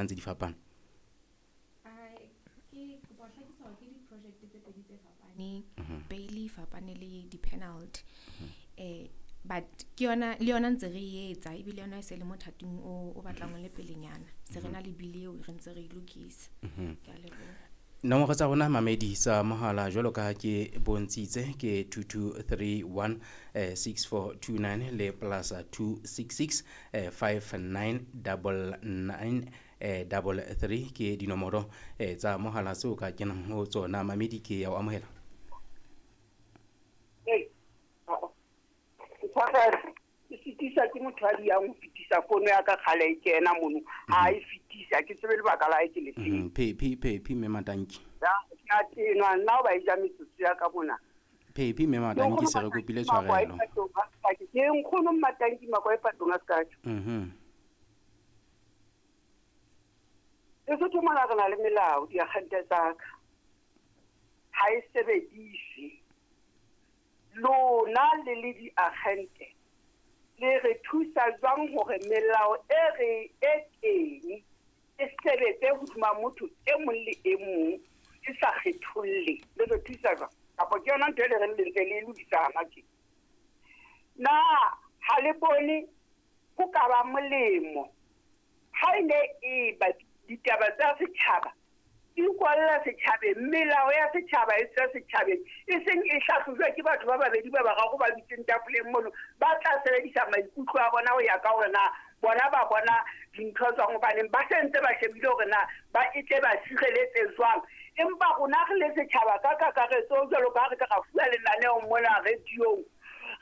Ntse di fapana. Ke kopa ho hlakisa hore ke di-project tse pedi tse fapaneng. Bail e fapane le di-penalty. But ke yona le yona ntse re e etsa ebile yona e se le mothating o batlang o le pelenyana. Se re na le bill eo re ntse re e lokisa. Ke a leboha. Nomoro tsa rona mamedi tsa mohala jwalo ka ha ke bontshitse ke 2231 6429 le plus 266 5999 33 ke dinomoro tsa mohala tseo ka kenang ho tsona. Mamedi, ke ya o amohela. Hey, tshwarelo, ke sitisa ke motho a diyang ho fetisa fono ya ka kgale e kena mono. Ha e fetisa, ke tsebe lebaka la hae ke le feng. Phephi, Phephi mme Matanki. Ya, ke a tenwa nna o ba e ja metsotso ya ka mona. Phephi mme Matanki, se re kopile tshwarelo. Ke nkgono Mmatanki Makwa e patong a sekatsho. Lesotho mona re na le melao, diakgente tsa ka. Ha e sebedise. Lona le le diakgente le re thusa jwang hore melao e re e teng e sebetse hodima motho e mong le e mong e sa kgetholle? Le re thusa jwang? Kapa ke yona ntho e le reng le ntse le e lokisa hana tje? Na ha le bone ho ka ba molemo ha e ne e ba ditaba tsa setjhaba di kwalla setjhabeng, melao ya setjhaba e tswa setjhabeng, e seng e hlahlojwa ke batho ba babedi ba bararo ba dutseng tafoleng mono, ba tla sebedisa maikutlo a bona ho ya ka hore na bona ba bona dintho jwang, hobaneng ba se ntse ba shebile hore na ba e tle ba sireletse jwang. Empa rona re le setjhaba ka kakaretso, jwalo ka ha re ka ra fuwa lenaneo mona radiong,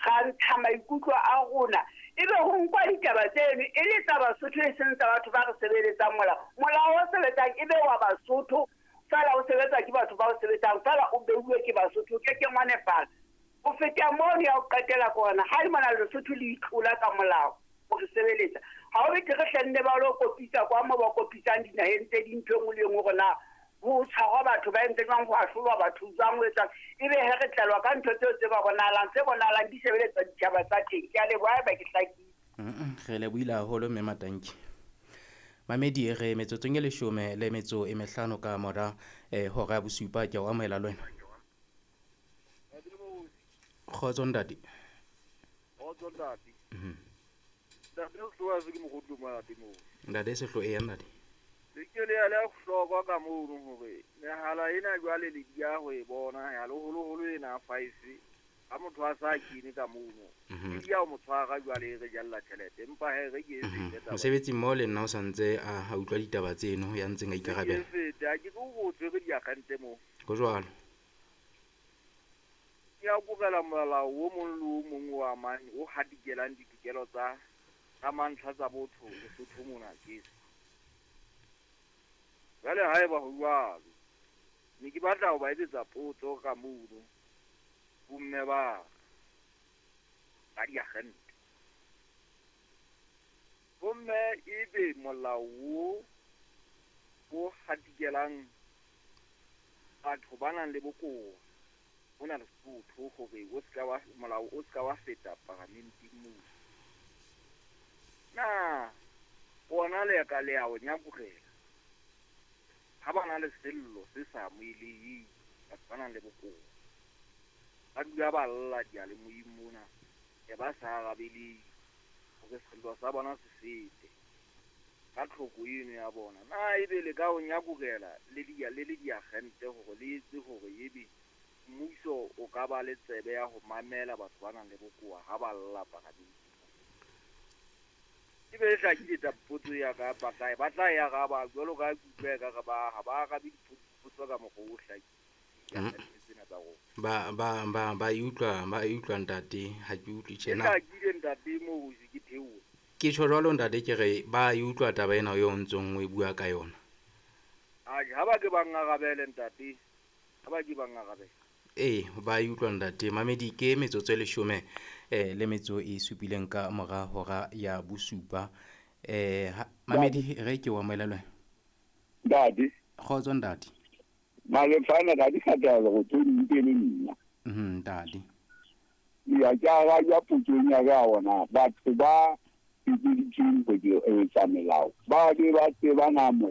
ra ntsha maikutlo a rona, ebe ho nkwa ditaba tseno e le tsa Basotho e seng tsa batho ba re sebeletsang molao. Molao o sebetsang ebe wa Basotho feela, o sebetsa ke batho ba o sebetsang feela, o beuwe ke Basotho, o kekeng wa nepahala. Ho feta mono ya ho qetela ke hona, ha le mona Lesotho le itlola ka molao ho re sebeletsa. Ha o betere hlenne ba lo kopitsa kwa mo ba kopitsang dinaheng tse ding, ntho e nngwe le e nngwe hore na ho tshwarwa batho ba entse jwang, ho ahlolwa batho jwang, ho etswang. Ebe he re tlelwa ka ntho tseo tse ba bonahalang, tse bonahalang di sebeletsa ditjhaba tsa teng. Ke a leboha haeba ke hlakile. Re lebohile haholo mme Matanki. Mamedi, re metsotsong e 15 ka mora hora ya bosupa. Ke a o amohela le wena. Kgotso ntate. Kgotso ntate. Ntate Sehloa se ke mogodi mo lapeng moo. Ntate Sehloa, eya ntate. Le ke le ya le hlokwa ka mono hore mehala ena jwale le dia ho e bona ya leholoholo ena 5 ha motho a sa kene ka mono. Ke dia ho mo tshwara jwale re jalla tjhelete, empa he re ke e fete taba. Mosebetsi mmoho le nna o sa ntse a utlwa ditaba tseno ya ntseng a ikarabela. Ke e fete, ha ke tlo go tshwere diakgente moo. Ho jwalo. Ke a kobela molao o mong le o mong o amang o hatikelang ditokelo tsa mantlha tsa botho Lesotho mona ke. Jwale haeba ho jwalo, ne ke batla ho ba etsetsa potso ka mono bomme ba ba diakgente. Bomme ebe molao o o hatikelang batho ba nang le bokowa mona Lesotho hore o ska wa molao o ska wa feta paramenteng moo. Na ona le ka le a o nyakurela ha ba na le sello se sa amoheleheng, batho ba nang le bokowa ba dula ba lla diyalemoyeng mona, e ba sa arabeleng hore sello sa bona se fete ka tlhoko eno ya bona. Na ebe le ka o nyakurela le le diakgente hore le etse hore ebe mmuso o ka ba le tsebe ya ho mamela batho ba nang le bokowa ha ba lla paramenteng? Ebe e hlakile tsa potso ya ka, ba tla ba tla e araba jwalo ka ke utlwa ekare ba ha ba arabe dipotso ka mokgwa o hlakileng. Tsena tsa rona. Ba e utlwa, ba e utlwa ntate, ha ke utlwe tjena. E hlakile ntate moo se ke theoha. Ke tjho jwalo ntate, ke re ba e utlwa taba ena eo o ntsong o e bua ka yona. Atjhe, ha ba ke ba ngarabele ntate, ha ba ke ba ngarabele. Ee, ba e utlwa ntate. Mamedi, ke metsotso e 17 ka mora hora ya bosupa. Mamedi, re ke o amohela le wena. Ntate. Kgotso ntate. Malefana ka di kgathala go tlo di le nna. Ntate. Ya ke ara ya potso ya ka ona batho ba etseditsweng ho etsa melao, ba be ba tseba na molao.